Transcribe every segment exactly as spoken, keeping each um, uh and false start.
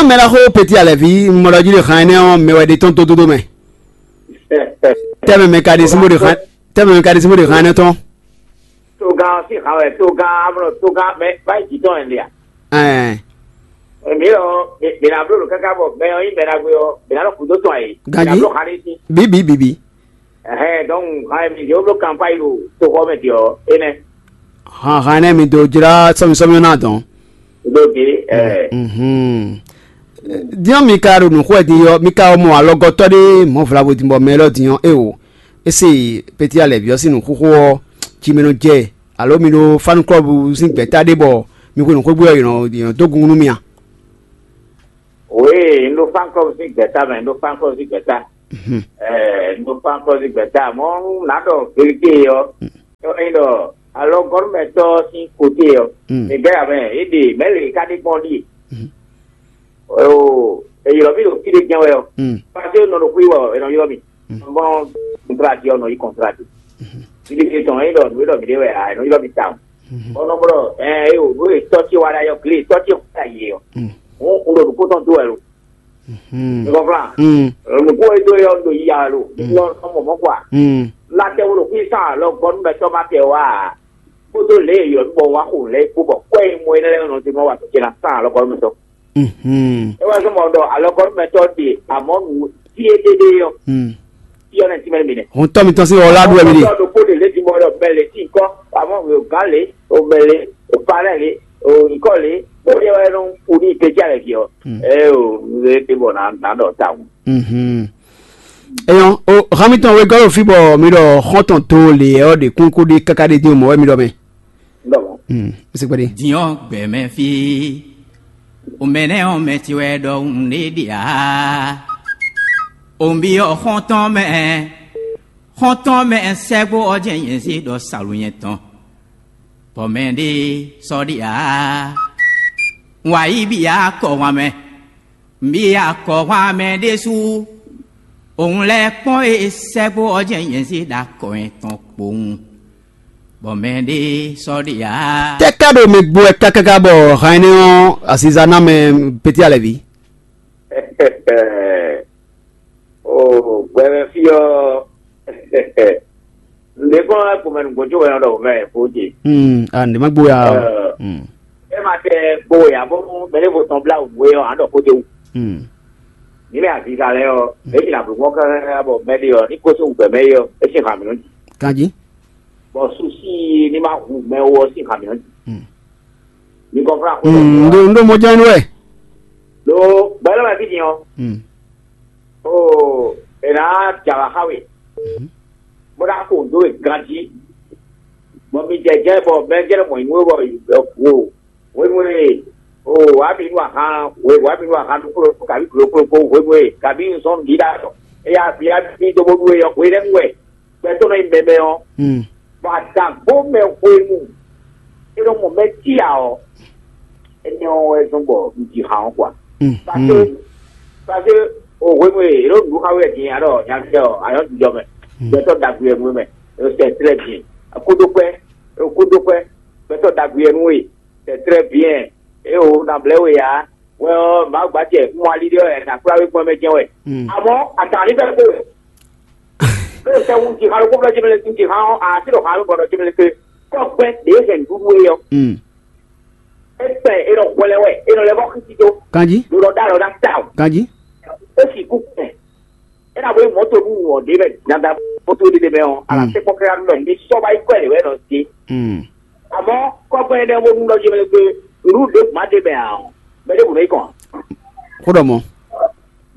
Mɛ ɖaxó Peti Alɛvi, mɔ ɖɔ jí ɖe han énɛ́ ɔ́, mɛ wɛ ɖe tɔn dódódó mɛ. Tɛmɛ mɛ ka ɖe sín bó ɖe han, tɛmɛ mɛ ka ɖe sín bó ɖe han énɛ́ tɔn. Togán ɔ́ sín han wɛ, togán amlɔ togán mɛ báyìí jǐ tɔn ɛ lé a? Ɛɛ, Èmi ɔ́, mi mi ná bló ɖo káká bɔ mɛ ɔ́ nyí mɛ ɖagbe ɔ́, mi ná nɔ kúdó tɔn ayǐ. Ganjí. Mi ná bló han ní sí. Bǐ bǐ bǐ bǐ. Ɛhɛn, donc han e mi jɛ wó bló kanpáyi ɖo toxɔ mɛ din ɔ́, énɛ́. Han han énɛ́ mi dó jlá sɔ́mi sɔ́mi ɔ́ ná dɔn. Ɖó gbe, ɛ Mhm. Diɔ mi ka ɖo nǔxwɛ din ɔ́, mi ka mɔ alɔgɔtɔ́ ɖé mɔ̌ vlavo din bɔ mɛ élɔ́ din ɔ́, eo, é se Peti Alɛvi ɔ́ sín nǔxóxó ɔ́, ci mɛ nɔ jɛ, alo mi ɖo fanu klɔ́bu sín gbɛ̌ta ɖé bɔ mi xwe nǔxwé gbé ɔ́, yě nɔ yě nɔ dó gungun nú mi a? Wěe, un ɖo fánkɔ́ sín gbɛ̌ta mɛ, un ɖo fánkɔ́ sín gbɛ̌ta. Mhm. Ɛɛ, un ɖo fánkɔ́ sín gbɛ̌ta, mɔ̌ nú nǎ ɖɔ vérité ɔ́, ɔ́, é ɖɔ alɔgɔ́númɛtɔ́ sín kote ɔ́, Mm. È gɛ́ amɛ, é ɖe mɛ̌ lě ká ɖe gbɔn ɖíe. Mhm. Oo, è ylɔ́ mì ɖo fí ɖé jɛ́n wɛ ɔ́. Mm. Pase nɔ ɖo xwí wɛ ɔ́, è nɔ ylɔ́ mì. Mm. Bɔn kɔntrati ɔ́ nɔ yi kɔntrati. Mhm. Fí ɖé tɔn é ɖɔ nǔ é ɖɔ mǐ ɖe wɛ ǎ, è nɔ ylɔ́ mì tawun. Mhm. Bɔn nɔ blɔ ɛ é o nǔ e tɔ́ ce wa ɖ'ayɔ glé tɔ́ ce wa ɖ'ayǐ ɔ́. Mm. Hǔn un ɖo nǔkó tɔn dó wɛ lo. Mhm. Mi kɔnflan. Mm. Nǔkó e dó yɔ ɖo yiya lo. Mm. Nɔ nɔ mɔ mɔ kwa. Mm. La tɛ wo ɖo xwí sán alɔ gɔnu mɛ tɔ ma tɛ wa. Kpódó lě e yɔ bɔ wa xo lɛ kpó bɔ kɔɛ e mɔ e lɛ nɔ te ma wa tɔ ce na sán alɔ gɔnu mɛ tɔ. Mhm. E wa zɔn mɔ ɖɔ alɔ gɔnu mɛ tɔ de amɔ nu fie dede yɔ. Mm. Fie ne ti mɛ mi ne. Hɔn tɔ mi tɔn si wɔ la du wɛ mi de. Tɔ ɖokpó de lé ti mɔ ɖɔ bɛ lé ti kɔ amɔ o gán lé o bɛ lé o parɛ lé o nyikɔ lé o yɛ wɛ nɔ fu ní ìgbésí alɛ fi ɔ. Mm. Ɛ o nze te bɔ na na ɖɔ ta ŋu. Mhm. Eyɔn, o hami tɔn wegɔ́ ɖo fí bɔ mi ɖɔ xɔ́ntɔn to lě ɔ́ ɖe kún kó ɖe káká ɖe dín o mɔ̌ wɛ mi ɖɔ mɛ. Ndɔmɔ. Mm, mi se kpɛɖe. Diɔ gbɛmɛ fi. O mɛnɛ ɔn mɛ ti wɛ ɖɔ un ɖe ɖe a. O bi ɔ xɔntɔn mɛ. Xɔntɔn mɛ sɛgbo ɔ jɛ nyɛ si ɖɔ salu nyɛ tɔn. Bɔ mɛ ɖe sɔ ɖe a. Wa yi bi a kɔ wa mɛ. Mǐ yi akɔhwan mɛ ɖésú. Òun lɛ́ kpɔ́n e sɛ́gbó ɔ́ jɛ́n nyɛ zé ɖo akɔ tɔn kpowun, bɔ mɛ ɖé sɔ́ ɖe ǎ. Tɛ́ ká ɖo mi gbo wɛ kákáká bɔ han énɛ́ ɔ́ aziza ná mɛ Peti Alɛví? O gbɛmɛ fí ɔ́, nǔɖé kɔn wá gbɔmɛ nǔgbó jó wɛ nɔ ɖɔ mɛ bó ce. Hmm, ah, nǔɖé má gbó ya. Ɔ, é ma tɛ gbó ya bó mɛ ɖěvo tɔn blá wǔ é ɔ́, á ɖɔ kó dé wú. Hmm. Ní mɛ aziza lɛ́ɛ ɔ́, é jǐ nǎ bló mɔ́ káká bɔ mɛ ɖé ɔ́ ní kó sín wǔ gbɛ mɛ é ɔ́, é sín hǎn mǐ nɔ jǐ. Kanjí. Bɔ susi ní ma hu mɛ wú ɔ́ sín hǎn mǐ nɔ jǐ. Hmm. Mi kɔnfla xó. Hmm, ndo ndo mɔ jɛn wɛ. Lo gbɛlɛ ma fi din ɔ. Hmm. O, e na jala xa we. Mhm. Bó ná kó ndo e ganjí. Bɔ mi jɛ jɛ bɔ mɛ jɛ mɔ inú bɔ wo wo nu e o wa mi nu ahan we wa mi nu ahan duklo kabi duklo klo ko we we kabi zɔn di da tɔ. Eya bi a bi do bo du e yɔ we lɛ nu wɛ. Gbɛtɔ́ nɔ nyi mɛmɛ ɔ́, bɔ adǎgbó mɛ hwenu e nɔ mɔ mɛ cí ǎ ɔ́, énɛ́ ɔ́ wɛ zɔ́n bɔ un ji han ɔ́ kwa. Parce que parce que o hwenu e yě ɖo nǔ xa wɛ din alɔ nyagbɛ ɔ ayɔ jijɔ mɛ, gbɛtɔ́ ɖagbe wɛ nú mɛ, e sɛ tlɛ din, kódó kwɛ, kódó kwɛ, gbɛtɔ́ ɖagbe wɛ nú we, c'est très bien. E o na blɛ we ya. Wɛ ɔ́, Mawu gbacɛ un mɔ ali ɖé ɔ́, ɛ nǎ kplá we gbɔn mɛ jɛ́n wɛ. Amɔ̌, atǎn ní bɛ́ kpo wɛ. Lóò sɛ wú ti xalo kóflɔ jɛmɛ lɛ tún ti xan ɔ́, a ti ɖo xan ló bɔnɔ jɛmɛ lɛ ke kɔ́gbɛn ɖě hɛn nǔɖuɖu é ɔ́. É kpɛ é nɔ hwɛlɛ wɛ, é nɔ lɛ bɔ xísí tó. Kanjí. Ɖo nɔ ɖó alɔ ná ta o. Kanjí. É sì kú kpɛ. É ná bó mɔ̌ tó nú wɔ ɖě mɛ dandan kótó ɖé mɛ ɔ́, a nǎ tɛ́ kpɔ́ káká nú mɛ ní sɔ́ wá yi kɔ ɛ lě wɛ nɔ zé. Àmọ́ kɔ́gbɛn énɛ́ bó nú ɖɔ jɛmɛ lɛ ke nǔɖuɖu ɖěbǔ má ɖe mɛ ǎ ɔ́, mɛ ɖěbǔ nɔ yi kɔn ǎ. Xó ɖɔ mɔ̌.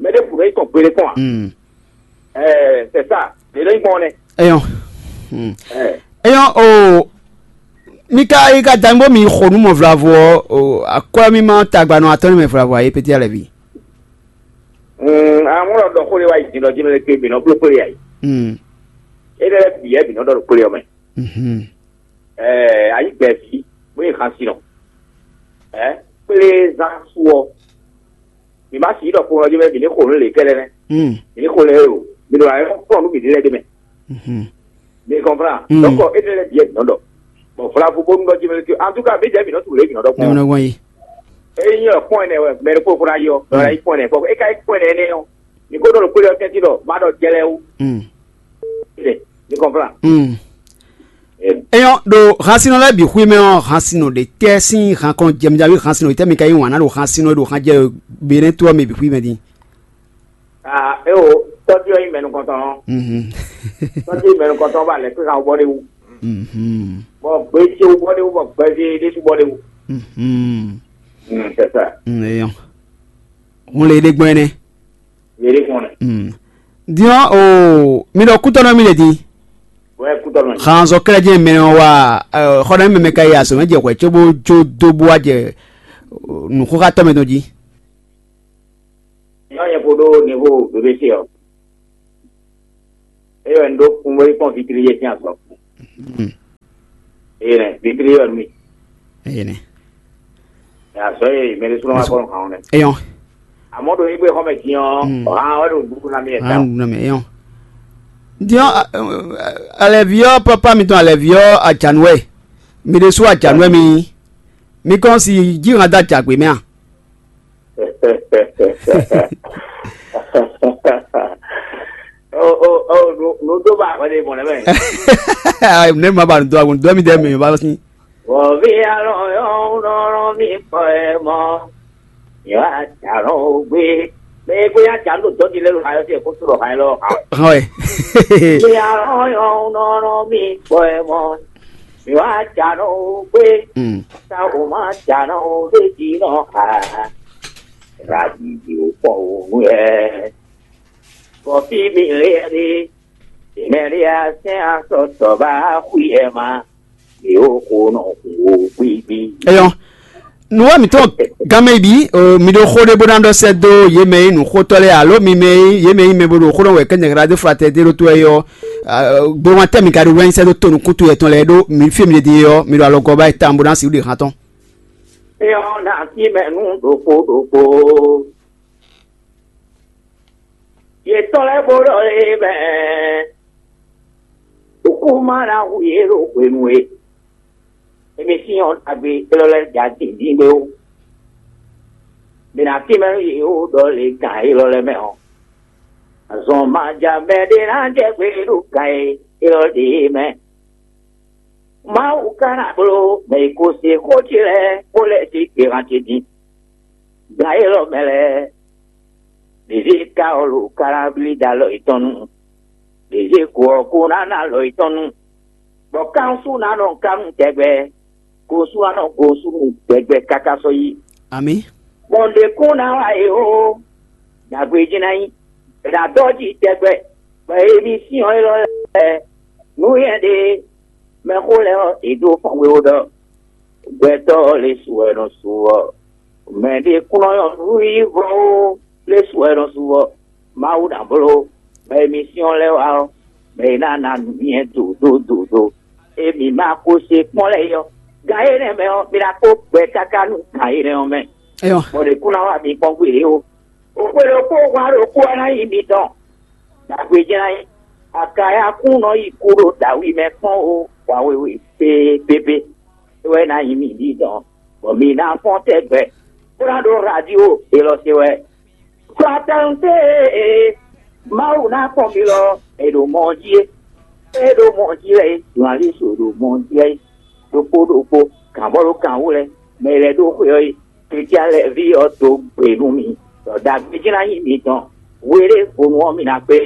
Mɛ ɖěbǔ nɔ yi kɔn gbeɖé kɔn ǎ. Mm. Ɛɛ, c'est ça. Lě nɔ yi kpɔn nɛ. Eyɔn. Mm. Ɛɛ. Eyɔn o, mi ka yi ka dan bó mi xo nú mɔ vlavo ɔ́, o, akwɛ́ mi ma tagba nɔ atɔ́ ní mɛ vlavo ayé pété alɛ ví. Mm, amúnɔ ɖɔ xó lé wá yi din ɖɔ jɛmɛ lɛ ke bǐ nɔ bló kplé ayé. Mm. É lɛ́ bǐ yɛ bǐ nɔ ɖɔ ɖo kplé ɔ́ mɛ. Mhm. Ɛɛ, ayí gbɛ̌ví bó yi xan sinɔ. Ɛ kplé zán sú ɔ́, mǐ ma sǐ ɖɔ kplɔ́n jí mɛ mǐ ní xo nǔ lě kɛ́ɖɛ́ nɛ́. Mm. Mǐ ní xo lɛ o, mǐ ɖo ayɔ kplɔ́n nú mǐ ɖi lɛ́ ɖé mɛ. Mhm. Mi kɔnflan. Mm. Donc, é ɖe lɛ́ bǐ yɛ mǐ nɔ ɖɔ. Bon, vlavo bónú ɖɔ jí mɛ lé. En tout cas, mǐ jɛ mǐ nɔ tu lě mǐ nɔ ɖɔ Ní gbɔn. Mɔ gbɔn yi. Ényí ɔ kpɔn ɛnɛ wɛ mɛ ɖokpó fúnra yɔ, lɔ la yi kpɔn ɛnɛ, bɔ é ka yi kpɔn ɛnɛ ɛnɛ ɔ, mi ko ɖo nukpé ɖɔ tɛ́ntin ɖɔ má ɖɔ jɛ lɛ́ɛ wú. Mm. Ɛ, mi kɔnplan. Mm. Ɛ, Eyɔn ɖo hansinɔ lɛ́ɛ bǐ xwí mɛ ɔ́, hansinɔ ɖe tɛ́ sín han kɔn jɛmɛ javí hansinɔ ɖe tɛ́ mi ka yí wǎn ná ɖo hansinɔ e ɖo han jɛ Benɛ́ to ɔ́ mɛ bǐ xwí mɛ din? Ah, é o, tɔ́jú ɔ́ nyí mɛ nukɔntɔn ɔ́. Mhm. Tɔ́jú nyí mɛ nukɔntɔn ɔ́ ba lɛ̌ xwé han wú bɔ ɖ'é wú. Mhm. Bɔ gbé ce wú bɔ ɖ'é wú, bɔ gbɛzé ɖésú bɔ ɖ'é wú. Mhm. Mm, c'est ça. Mm, eyɔn. Hun le ɖe gbɔn ɛnɛ. Yě ɖe gbɔn nɛ. Mm. Diɔn o, mi ɖɔ kútɔnɔ mi le din. Wɛ kútɔnɔ. Xanzɔ kɛlɛ jɛ mɛ ɔ́ wa, ɛ, xɔ ɖe mɛ mɛ ka yi azɔ mɛ jɛ hwɛ cóbó jó dó bó wá jɛ, ɛ, nǔxóxátɔ́ mɛ tɔn jí. Nyɔ nyɛ ko ɖó niveau B B C ɔ. Eyɔ n ɖó kun bó yi kpɔn vitri yé sín azɔ. Mm. Eye nɛ vitri yɔ mi. Eye nɛ. Azɔ ye mɛ ɖé súnmọ́ wá kpɔn hàn nɛ. Eyɔn. Àmọ́ ɖo yín gbé xɔmɛ dín ɔ́, Mm. Hàn wɛ ɖo dúkú ná mi ẹ̀ Ah, dá. Nɔ mi eyɔn. Diɔn, alɛvi ɔ́, papa mitɔn alɛvi ɔ́, ajanuwɛ. Mi ɖésú ajanuwɛ mi. Mi kɔn si jí hàn dá jagbe mɛ a? Nǔ dó ba hwɛ ɖe mɔ̌ lɛ́ mɛ. Ne ma ba nǔ dó agun dó mi dɛ mi ba sín. Wɔvi alɔ yɔ nɔnɔ mi kpɔ ɛ mɔ. Yɔ ajalɔ gbé. Mɛ gbé ajalɔ dɔ di lɛ lo ayɔ se ko sɔrɔ ha lɔ ha. Hɔn ɛ. Wɔvi alɔ yɔ nɔnɔ mi kpɔ ɛ mɔ. Yɔ ajalɔ gbé. Mm. Sa o ma jalɔ o de di nɔ ha. Radidi o kpɔ o nu yɛ. Bɔ fí mi lé ɛ ɖe, mɛ ɖé a sɛn asɔ tɔ ba xwí ɛ ma, yě ó xo nɔ xo gbigbi. Eyɔn, nǔwá mǐtɔn gánmɛ yi bǐ, mi ɖo xó ɖé bó ná ɖɔ sɛ́ dó yě mɛ e nyí nǔxótɔ́ lɛ́ɛ alo mi mɛ e nyí yě mɛ e nyí mɛ bó ɖo xó ɖɔ wɛ kɛ́ nyɛ̌ ɖó flatɛ dé ɖó tó wɛ ɔ́, gbɔn tɛ́ mi ka ɖo wɛ́nyí sɛ́ dó to nukúntu yɛtɔn lɛ́ɛ ɖó mi fí e mi ɖe din é ɔ́, mi ɖo alɔgɔ́ ba yi tawun bó ná sixú ɖe hán tɔn. Eyɔn ná sí mɛ nú ɖokpó ɖokpó. Yě tɔ́n lɛ́ɛ bó ɖɔ lé mɛ, ɖokúma ná hu yě ɖo hwenu e émi sín ɔ́ ɖagbe élɔ́ lɛ́ɛ ja dǐndín gbé ó. Mi ná tínmɛ nú yě ó ɖɔ lě gǎn élɔ́ lɛ́ɛ mɛ ɔ́, azɔn ma ja mɛ ɖé ná jɛ gbé ɖo gǎn e élɔ́ ɖě mɛ. Mawu ka ná bló mɛ e ko se xó ce lɛ́ɛ kpó lɛ́ɛ dó gběhan ce din. Gan élɔ́ mɛ lɛ́ɛ, ɖězé ka ɔ́ lo ka ná blí dó alɔ yětɔn nu, ɖězé ko ɔ́ ko ná ná alɔ yětɔn nu, bɔ kánsu ná nɔ kánnu tɛgbɛ, gosú ná nɔ gosú nu tɛgbɛ káká sɔ́ yi. Amǐ. Gbɔn ɖě kún ná wa é ó, ɖagbe jí ná nyí, è nǎ dɔ́ jí tɛgbɛ, bɔ émí sín ɔ́ élɔ́ lɛ́ɛ, nǔ nyɛ ɖe mɛxó lɛ́ɛ ɔ́, è dó fɔ́n we ó ɖɔ gbɛtɔ́ ɔ́ lě su wɛ nɔ su ɔ́, mɛ ɖé kún nɔ nyɔ́ nǔ yí vɔ́ ó, lě su wɛ nɔ su ɔ́, Mawu ná bló mɛ e mi syɔ́n lɛ́ɛ wá ɔ́, mɛ e ná ná nǔ nyɛ dǒdódǒdó. Emi ma ko se kpɔ́n lɛ́ɛ é ɔ́, gan énɛ́ mɛ ɔ́, mi ná kó gbɛ káká nú gan énɛ́ ɔ́ mɛ. Eyɔn. Bɔ ɖě kún ná wá mi kpɔ́n gbé ó. Xwe ɖokpó hwan ɖokpó ɔ́ ná nyí mitɔn. Dǎgbé jlá nyí. Akayakún nɔ yi kú ɖo dǎwe mɛ kpɔ́n ó, hwa wewe pépépé. É wɛ ná nyí mi ɖi dɔn, bɔ mi ná fɔ́n tɛgbɛ, bó ná ɖó radio élɔ́ se wɛ. Sɔtɛnte e Mawu ná kpɔn mi lɔ, è ɖo mɔ jí é. É ɖo mɔ jí lɛ é, journaliste ɖo mɔ jí lɛ é. Ɖokpó ɖokpó, gǎnbɔ́ ɖo gǎn wú lɛ, mɛ lɛ́ɛ ɖó xwe ɔ́ é. Kɛ́tí alɛví ɔ́ dó gbe nú mi, ɖɔ ɖagbe jí ná nyí mitɔn, hweɖé hwenu ɔ́ mi ná kpé.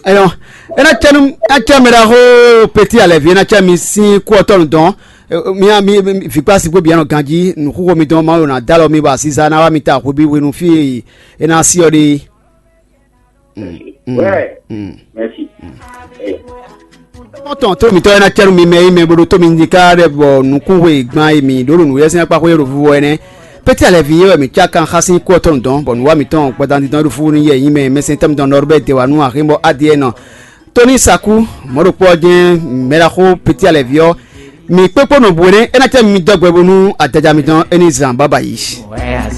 Eyɔn, é ná cɛ nú, é ná cɛ mɛ ɖaxó Peti Alɛvi, é ná cɛ mi sín kú ɔ́ tɔnu dɔn. Mi mi vikpá si kpó bianɔ ganjí nǔxúxo mitɔn Mawu ná dó alɔ mi bɔ asiza ná wá mi ta hwebi hwenu fí e é ná sí ɔ́ ɖe. Mm, mm, Ouais. Mm. Merci. Tɔn tó mitɔ ena cɛnu mi mɛ yi mɛ boɖo tó mi ní ká ɖe bɔ nukún hwe gban yi mi ɖó ɖo nǔyɛsɛn akpa xwé ɖo vuvɔ ɛnɛ. Peti alɛvi yɛ wɛ mi cá kan xá sín kú ɔtɔn dɔn bɔ nǔwa mitɔn gbɔdan dindɔn ɖo fúfú ní yɛ yi mɛ mɛsɛn tɛm dɔn nɔrɔ bɛ de wa nú axé bɔ adie nɔ. Tóní Saku, mɔɖokpɔ jɛn mɛɖaxó Peti alɛvi ɔ́, mi kpékpó nɔ bu ɛnɛ ena cɛ mi dɔgbɛ bónú adaja mitɔn é ní zan baba yi.